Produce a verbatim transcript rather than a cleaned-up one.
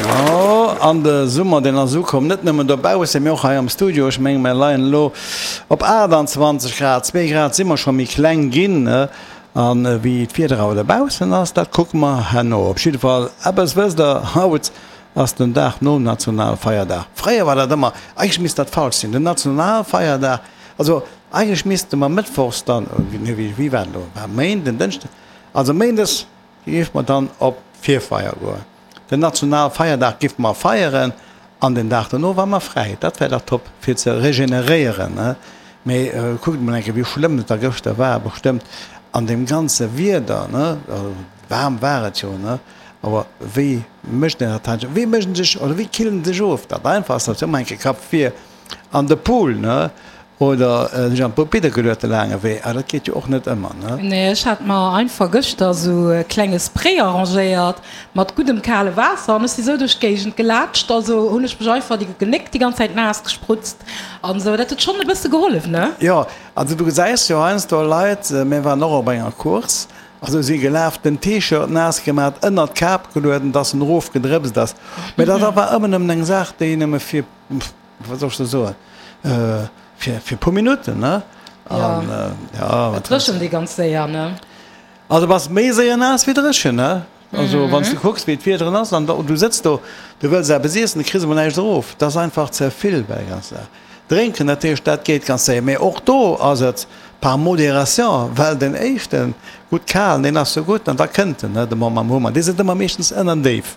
Jo, an de Summer, deen ass ukomm, net nëmmen dobaussen, mee och hei am Studio. Ech mengen, mir leien elo op aachtanzwanzeg Grad, zwee Grad si mer scho méi kleng ginn. An wéi d'Wieder awer dobaussen ass, dat kucke mer herno. Op jidde Fall, eppes wësst Der, haut ass den Dag nom Nationalfeierdag. Fréier war dat ëmmer, eigentlech misst dat falsch sinn, den Nationalfeierdag, also eigentlech misste mer mëttwochs dann, nee, wéi war dat elo, war Méinden, Dënschden, also méindes géife mer dann op d'Virfeier goen. Den Nationalfeierdag géife mer feieren an den Dag dono war mer fräi. Dat wär dach top fir ze regeneréieren, ne? Mee kuckt emol eng Kéier, wéi schlëmm et da gëschter war, bestëmmt an deem ganze Wieder, ne? Waarm war et jo, ne? Awer wéi mécht een dat heiansdo? Wéi mécht een sech oder wéi killt een sech of? Dat Einfachst ass jo ëmmer eng Kéier Kapp vir an de Pool, ne? Oder sech an d'Bobidde geluet de laange Wee. Awer dat geet jo och net ëmmer, ne? Nee, ech hat mer einfach gëschter esou e klenge Spray arrangéiert mat guddem kale Waasser an ech si sou duerch d'Géigend gelaatscht. Also hunn ech mech einfach déi Genéck déi ganz Zäit naass gesprutzt an esou. Dat huet schonn e bësse gehollef, ne? Jo, also du gesäis jo heiansdo Leit, mir waren och op enger Course, also si gelaf, den T-Shirt naass gemat, ënnert d'Kap gelueden, dass en erofgedrëpst ass. Mee dat war ëmmer nëmmen eng Saach, déi nëmme fir, wat soll ech da soen, fir fir puer Minutten, ne? An ja, et dréchent ee ganz séier, ne? Also bass méi séier naass wéi dréchen, ne? Also wann s du kucks wéi d'Wiederen ass an du sëtz do, du wëlls eppes iessen, du kriss emol näischt erof, dat ass einfach ze vill bei der ganzer Saach. Drénken, dat heescht, dat geet ganz séier, mee och do ass et par modération, well den éischten, gutt kalen, deen ass jo gutt an da kënnt en, ne, de Mom am Hummer, dee sëtzt ëmmer meeschtens ënnerdéif.